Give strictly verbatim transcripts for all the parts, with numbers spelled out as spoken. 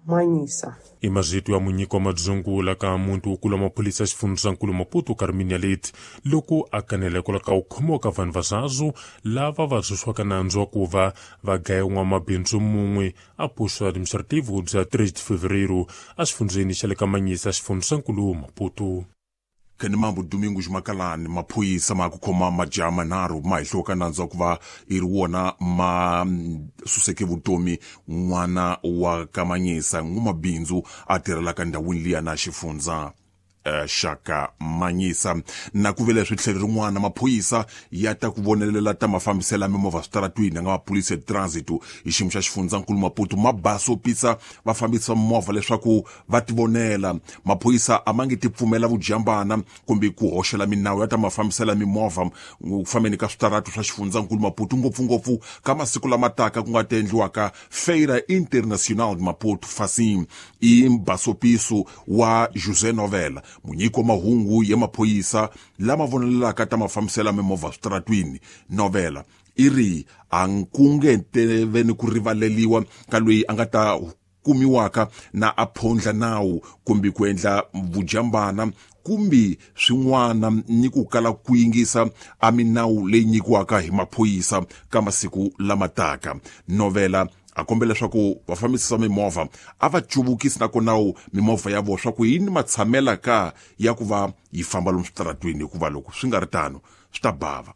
Manhiça. I mazito ya munyiki wa madzungula ka muntu wukulu wa maphorisa xifundzankulu Maputo Carminia Leite loko a kanela hikwalaho ka ku khomiwa ka vanhu vazazu lava va dzuswaka nandzu wa ku va va gaya n'wamabindzu mun'we a posto administrativo bya tres de Fevereiro exifundzeni xa le ka Manhiça xifundzankulu Maputo. Kani mambo Domingos Makalani maphorisa ma ku khoma majaha manharhu ma hehliwa nandzu wa ku va i ri wona ma suseke vutomi n'wana wa Kamanyisa n'wamabindzu a tirhelaka ndhawini liya na xifundza xaka Manhiça. Na ku vele swi tlhelo rin'wana maphorisa ya ta ku vonelela ta mafambiselo ya mimovha switaratwini ya nga maphorisa ya transit hi xiyimo xa xifundzankulu Maputo ma basopisa vafambisi va mimovha leswaku va tivonela. Maphorisa a ma nge ti pfumela vujambana kumbe ku hoxela minawu ya ta mafambiselo ya mimovha ku fambeni ka switaratu swa xifundzankulu Maputo, ngopfungopfu ka masiku lama taka ku nga ta endliwaka Feira Internacional de Maputo Facim. I mbasopiso wa José Novela, munyiki wa mahungu ya maphorisa lama vonelelaka ta mafambiselo ya mimovha switaratwini. Novela i ri a ku nge teveni ku rivaleliwa ka loyi a nga ta kumiwaka na a phondla nawu kumbe ku endla vujambana kumbe swin'wana ni ku kala ku yingisa a minawu leyi nyikiwaka hi maphorisa ka masiku lama taka. Novela a kombela leswaku vafambisi va mimovha a va cuvukisi na kona mimovha ya vona swa ku yini matshamela ka ya ku va yi famba lomu switaratwini, hikuva loko swi nga ri tano swi ta bava.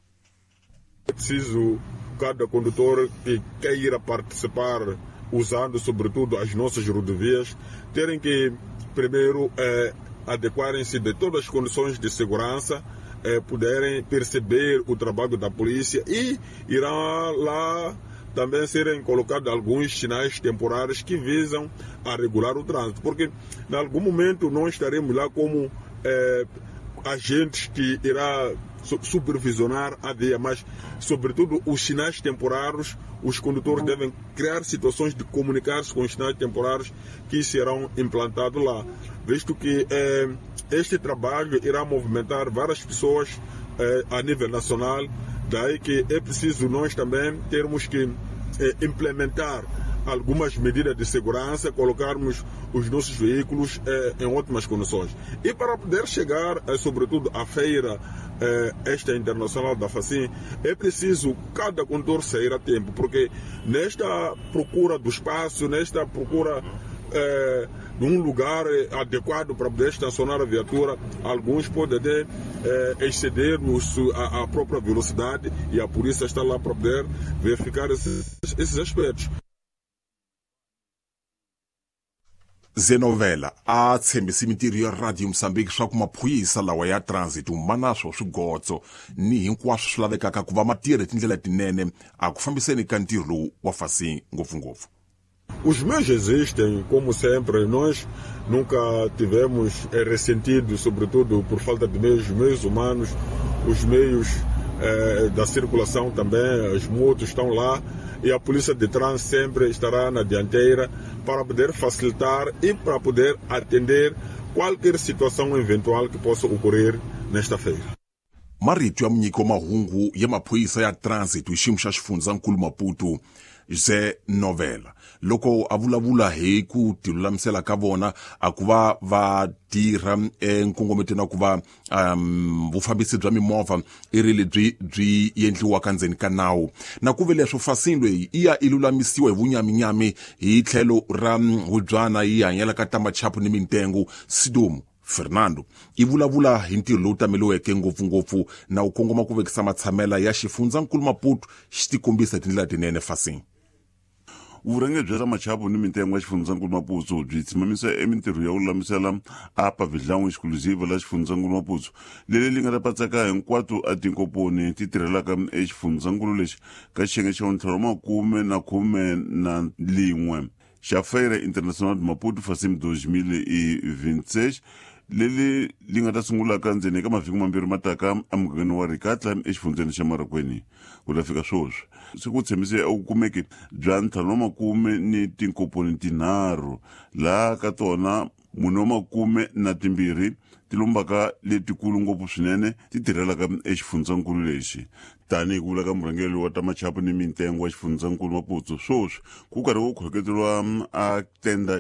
É preciso cada condutor que queira participar usando sobretudo as nossas rodovias terem que primeiro eh, adequarem-se de todas as condições de segurança, eh, poderem perceber o trabalho da polícia e irá lá também serem colocados alguns sinais temporários que visam a regular o trânsito, porque em algum momento nós estaremos lá como eh, agentes que irá supervisionar a via, mas sobretudo os sinais temporários, os condutores devem criar situações de comunicar-se com os sinais temporários que serão implantados lá, visto que eh, este trabalho irá movimentar várias pessoas eh, a nível nacional, daí que é preciso nós também termos que eh, implementar algumas medidas de segurança, colocarmos os nossos veículos eh, em ótimas condições. E para poder chegar, eh, sobretudo, à feira eh, esta internacional da Facim, é preciso cada condutor sair a tempo, porque nesta procura do espaço, nesta procura eh, de um lugar adequado para poder estacionar a viatura, alguns podem até eh, exceder a, a própria velocidade e a polícia está lá para poder verificar esses, esses aspectos. Zenovela a tshembisi mintirho ya Radio Mozambique swa ku maphorisa lawa ya transit ma na swo swigotso ni hinkwaswo swi lavekaka ku va ma tirha hi tindlela tinene a ku fambiseni ka ntirho lowu wa Facim ngopfungopfu. Os meios existem, como sempre, nós nunca tivemos ressentido, sobretudo por falta de meios, meios humanos, os meios eh, da circulação também, as motos estão lá e a polícia de trânsito sempre estará na dianteira para poder facilitar e para poder atender qualquer situação eventual que possa ocorrer nesta feira. Marito ya munyiki wa mahungu ya maphorisa ya transit hi xiyimo xa xifundzankulu Maputo José Novela loko a vulavula hi ku tilulamisela ka vona a ku va va tirha enkongometweni wa ku va um, vufambisi bya mimovha i ri lebyi byi endliwaka ndzeni ka nawu. Na ku ve leswo Facim leyi i ya i lulamisiwa hi vunyaminyami hi tlhelo ra hubyana yi hanyela ka tamachapu ni mintengo. Sidomu Fernando i vulavula hi ntirho lowu tameliweke ngopfungopfu na wu kongoma ku vekisa matshamela ya xifundzankulu Maputo xi tikombisa hi tindlela tinene Facim. Vurhangeri bya machapu ni mintengo ya xifundzankulu Maputo byi tshimamisa emintirho ya ku lulamisela a pavilhão exclusiva la xifundzankulu Maputo leri li nga ta patsaka hinkwato a tinkomponi ti tirhelaka exifundzankulu lexi ka xiyenge xa ntlhanu wa makume na khume na lin'we xa Feira Internacional de Maputo Facim dois mil e vinte e seis leri li nga ta sungulaka ndzeni ka mavhiki mambirhi mataka emugangeni wa Rikatla exifundzeni xa Marokweni. Ku ta fika sweswi se ku tshembise eku kumeke bya ntlhanu wa makume ni tinkomponi tinharhu laha ka tona mune wa makume na timbirhi ti lombaka letikulu ngopfu swinene ti tirhelaka exifundzankulu lexi. Tanihi ku vula ka murhangeri wa ta machapu ni mintengo wa xifundzankulu Maputo, sweswi ku karhi ku khoketeriwa a tenda